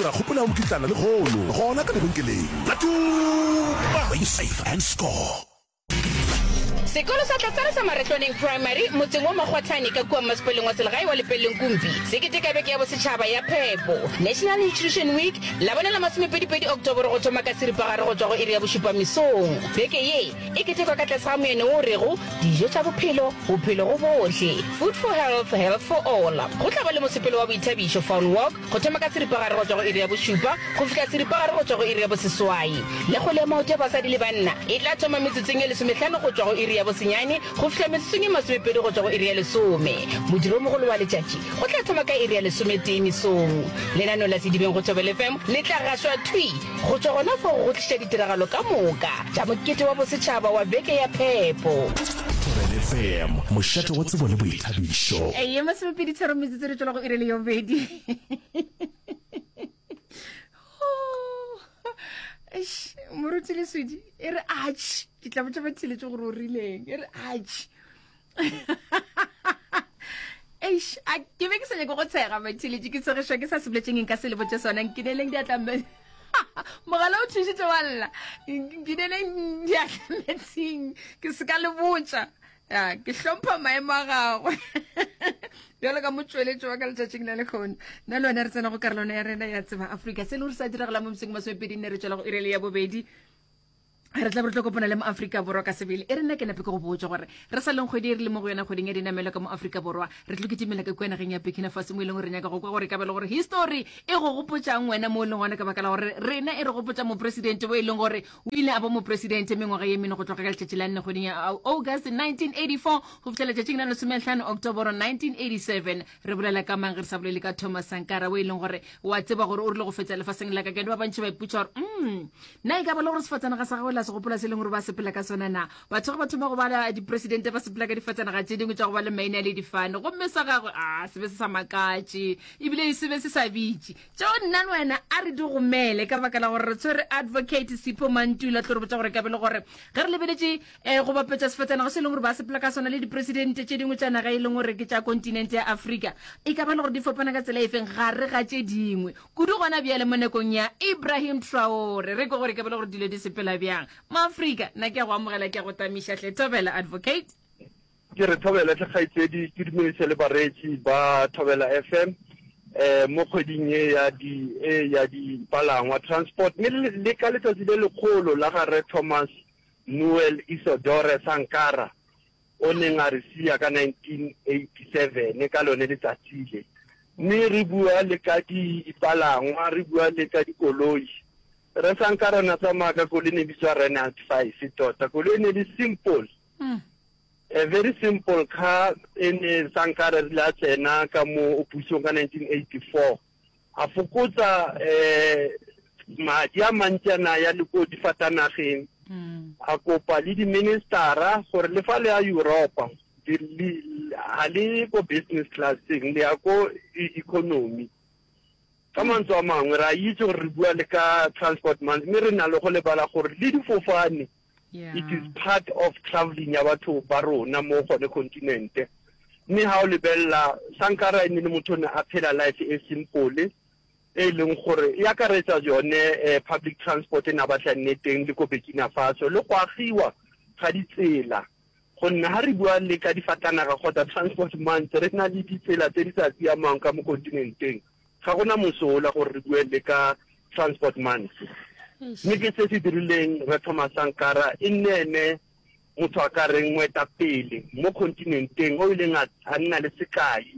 Dira kgopelo ya mokitlana lehono gona ka lebenkeleng la Tuba. Play safe and score. Sekolo sa Tlatsana sa Maretlwaneng Primary motseng wa Makgwathane ka kua mmasepaleng wa selegae wa Lepelleng Kumpi se keteka beke ya bosetšhaba ya phepo, National Nutrition Week, Labone la masomepedipedi Oktoboro go thoma ka seripagare go tšwa go iri ya bošupa mesong. Beke ye e ketekwa ka tlase ga moyene wo o rego, Dijo tša bophelo, bophelo go bohle, Food for Health, Health for All. Go tla ba le mosepelo wa boithabišo, Fun Walk, Go thoma ka seripagare go tšwa go iri ya bošupa go fihla seripagare go tšwa go iri ya boseswai. Le kgwele ya maoto ya basadi le banna e tla thoma metsotsong ye lesomehlano go tšwa go iri ya bosenyane go fihla metsotsong ye masomepedi go tšwa go iri ya lesome. Modiro o mogolo wa letšatši o tla thoma ka iri ya lesometee mesong. Lenaneo la Sedibeng go Thobela FM le tla gašwa thwi go tšwa gona fao go go tliša ditiragalo ka moka tša mokete wa bosetšhaba wa Beke ya Phepo. Thobela FM, mošate wa tsebo le boithabišo. Ye masomepedi tharo metsotso re tšwela go iri le yobedi. Eish, moruti Leswidi e re atšh ke tla botša batheletše gore o rileng e re atšh Eish, a ke be ke sa nyake go tshega batheletše ke tshegišwa ke sa se boletseng nka se le botše sona nkineleng diatla mogala o thušitše wa lla nkineleng diatla metsing ke se ka le botša ya ke hlompha maemo a gagwe bjalo ka motšweletši wa ka letšatšing la lekgono nna le wena re tsena go karolwana ya rena ya tseba afrika se le gore sa diragala mo moseng masomepedi nne re tšwela go irele ya bobedi re tla be re tlo kopana le moafrika borwa ka sebele e re nna ke nape ke go botsa gore re sa leng kgwedi e re le mo go yona kgweding ya dinamelo ka mo afrika borwa re tlo kitimela ka kua nageng ya burkina faso mo e leng gore re nyaka go kwa gore ka be le gore history e go gopotsang wena mo e leng gona ka baka la gore rena e re gopotsa mopresidente o e leng gore o ile a ba mopresidente mengwaga ye mene go tloga ka letšatši la nne kgweding ya august 1984 go fihla letšatšing la lesomehlano octoboro 1987 Re bolela ka mang ge re sa bolele ka Thomas Sankara o e leng gore wa tseba gore o rile go fetsa lefaseng la ka kene ba bantši ba ipotša gore mm na e ka ba le gore sefatanaga sa gagwe la se gopola se e leng gore ba sepela ka sona na batho ge ba thoma go bala dipresidente ba sepela ka difatanaga tše dingwe tša go ba le maina le difane gomme sa gagwe a se be se sa makatše ebile e se be se sa bitše tšeo nna le wena a re di gomele ka baka la gore re tshwere advocate Sipho Mantula tlo re botša gore ka be le gore ge re lebeletše E, go bapetša sefatanaga se e leng gore ba sepela ka sona le dipresidente tše dingwe tša naga e leng gore ke tša kontinente ya Afrika, e ka ba le gore di fapana ka tsela efeng gare ga tše dingwe, kudu gona bjale mo nakong ya Ibrahim Traore. Re kwe gore e ka ba le gore dilo di sepela bjang. Moafrika, nna ke a go amogela, ke a go tamiša hle. Thobela, Advocate. Ke re thobela hle kgaetšedi, ke dumedise le bareetši ba Thobela FM eh mo kgweding ye ya di e ya dipalangwa, transport, mme le ka letsatsi le lekgolo la ga Rre Thomas Noel Isidore Sankara o neng a re sia ka 1987 ka lone letsatsi le. Mme re bua le ka dipalangwa, re bua le ka dikoloi. Rre Sankara o ne a tsamaya ka koloi e ne e bitswa Renault 5 tota. Koloi e ne e le simple. A very simple car e ne Sankara rile a tsena ka mo pusong ka 1984. A fokotsa madi a mantši a na ya le ko difatanageng. A kopa le di-ministera gore le fa le ya Europa ga le ko business class-eng, le ya ko economy. Ka mantswe a mangwe re a itse gore re bua le ka transport month, mme re na le go lebala gore le difofane It is part of travelling ya batho ba rona mo gone continent. Mme ha o lebelela Sankara e ne le motho o ne a phela life e simple e leng gore e akaretsa yone public transport e ne a batla e nne teng le ko Burkina Faso le go agiwa ga ditsela gonne ha re bua le ka difatanaga kgotsa transport month re na le ditsela tse di sa siamang ka mo continenteng. Ga go na mosola gore re bue le ka Transport Month. Mme ke se se dirileng Rre Thomas Sankara e nne ene motho a ka reng moetapele mo kontinenteng o ileng a nna le sekai.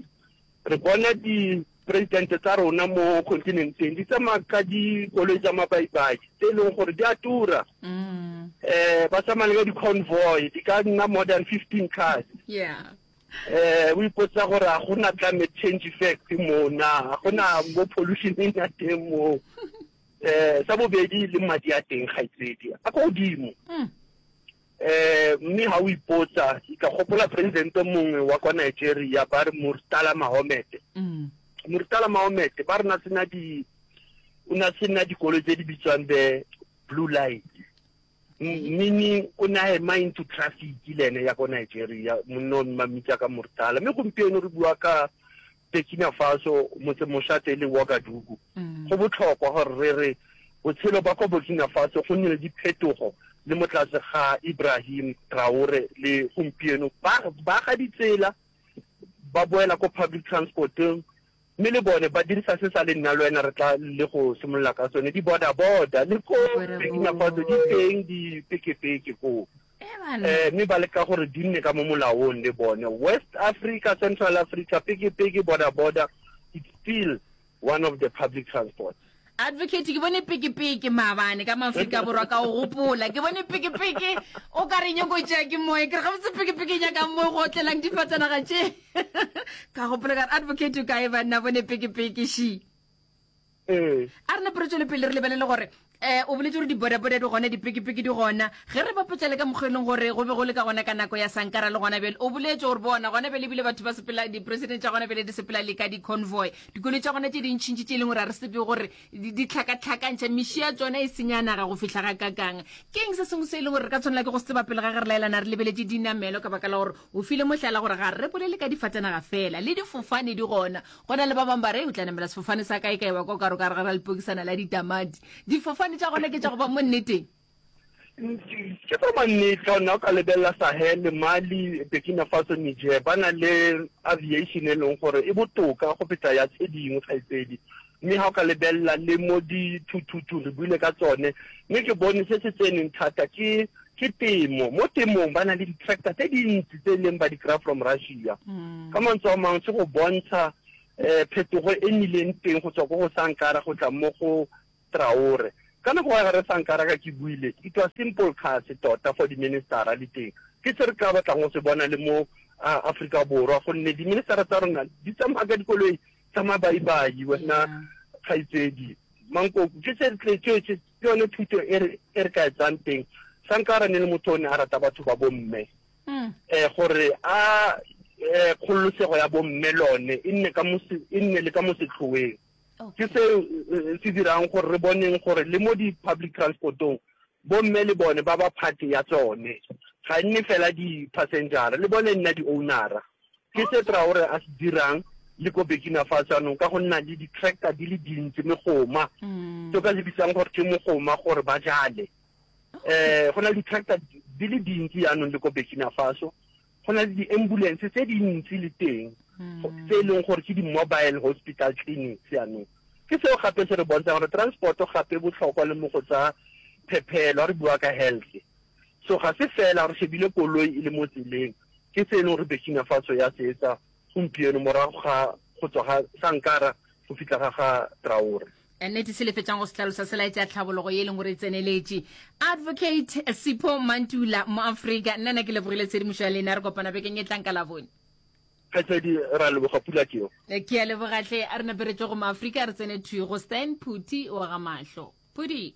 Re bona dipresidente tsa rona mo kontinenteng di tsamaya ka dikoloi tsa mabaibai tse e leng gore di a tura. Um ba tsamaya le ka di-convoy di ka nna more than 15 cars. Yeah. Eh, o ipotsa gore a gona climate change effect mo na, a gona mo pollution e ya teng mo. Eh, sa bobedi le madi a teng kgaitsedi a ko godimo. Mm. Eh, mme ha o ipotsa, ka gopola president mongwe wa kwa Nigeria ba re Murtala Mohammed. Mm. Murtala Mohammed ba re na sena di o na sena dikoloi tse di bitswang the blue light. Meaning o ne a ema into traffic le ene ya ko Nigeria, monna o mmitsa ka Murtala. Mme gompieno re bua ka Burkina Faso, motsemošate e le Ouagadougou. Go bohlokwa gore re re botshelo ba kwa Burkina Faso go nnile le diphetogo le mo tlase ga Ibrahim Traore le gompieno ba ba aga ditsela, ba boela ko public transport-ong mme le bone ba dirisa se sa le nna le wena re tla le go simolola ka sone, di-border-border le ko Burkina Faso di teng dipekepeke koo. Eh, mme ba leka gore di nne ka mo molaong le bone. West Africa, Central Africa, peke-peke, border-border, it's still one of the public transports. Advocate, ke bone peke-peke maabane ka Maafrika Borwa ka o gopola. Ke bone peke-peke o ka re nyoko tšea ke moya. Ke re gabotse peke-peke e nyakang mo go otlelang difatanaga tše. Ka gopola ka re advocate o kae banna bone peke-peke shi. Ee. A re nape re tšwele pele re lebelele gore um o boletse gore di-bodaboda di gona, dipikipiki di gona. Ge re bapetša le ka mokgwa e leng gore go be go le ka gona ka nako ya Sankara le gona bjale, o boletse gore bona gona bjale ebile batho ba sepela, di-president tša gona bjale di sepela le ka di-convoy. Dikoloi tša gona tše dintšintši tše e leng gore ga re tsebe gore di di hlakahlakantšha, meši ya tšona e senya naga go fihla gakakang. Ke eng se sengwe se e leng gore re ka tshwanela ke go se tseba pele ga ge re laelana re lebeletše dinamelo ka baka la gore o file mohlala gore ga re bolele ka difatanaga feela, le difofane di gona. Go na le ba bangwe ba re, O tla namela sefofane sa kae kae wa kwa o ka re o ka re gare ga lepokisana la ditamati. Difofane tša gona ke tša go ba mo nneteng. Ke tsa mannete ka gonne o ka lebelela Sahel, Mali, Burkina Faso, Niger ba na le aviation e leng gore e botoka go feta ya tse dingwe kgaitsedi. Mme ga o ka lebelela le mo dithuthuthung re buile ka tsone mme ke bone se se tseneng thata ke ke temo. Mo temong ba na le di-tractor tse dintsi tse e leng ba di kry-a from Russia. Ka mantswe a mangwe se go bontsha um phetogo e nnileng teng go tswa ko go Sankara go tla mo go Traore. Ka nako ya gare Sankara ka ke buile, it was simple cars tota for di-ministera le teng. Ke se re ka batlang go se bona le mo Aforika Borwa gonne di-ministera tsa rona di tsamaya ka dikoloi tsa mabaibai wena kgaitsedi. Mankoko ke se ke yone thuto e re e re ka e tsang teng. Sankara ne le motho o ne a rata batho ba bomme. Um gore a um kgololosego ya bomme lone e nne ka mo e nne le ka mo setlhoeng. Ke se se dirang gore re boneng gore le mo di-public transport-ong bomme le bone ba ba part ya tsone. Ga e nne fela di-passenger-a, le bone e nna di-owner-a. Ke se Traore a se dirang le ko Burkina Faso jaanong ka go nna le di-tractor di le dintsi, megoma, se o ka se bitsang gore ke mogoma gore ba jale. Um go na le di-tractor di le dintsi jaanong le ko Burkina Faso. Go na le di-ambulance tse dintsi le teng tse e leng gore ke di-mobile hospital clinics jaanong. Ke seo gape se re bontshang gore transport-o gape e botlhokwa le mo go tsa phephelo, ha re bua ka health. So ga se fela re shebile koloi e le mo tseleng, ke se e leng gore Burkina Faso ya se etsa gompieno morago ga go tswa ga Sankara go fitlha ga ga Traore. Nnete se le fetšang go se hlalosa se laetša tlhabologo ye e leng gore e tseneletše. Advocate Sipho Mantula, Moafrika, nna na ke lebogile tshedimošo ya lena, re kopana bekeng e tlang ka Labone. Kgaitsadi, ra leboga, pula ke yo. Ke a leboga hle, a re nape re tšwe go Moafrika re tsene thwi go Stan Phuthi wa ga Mahlo. Phuthi.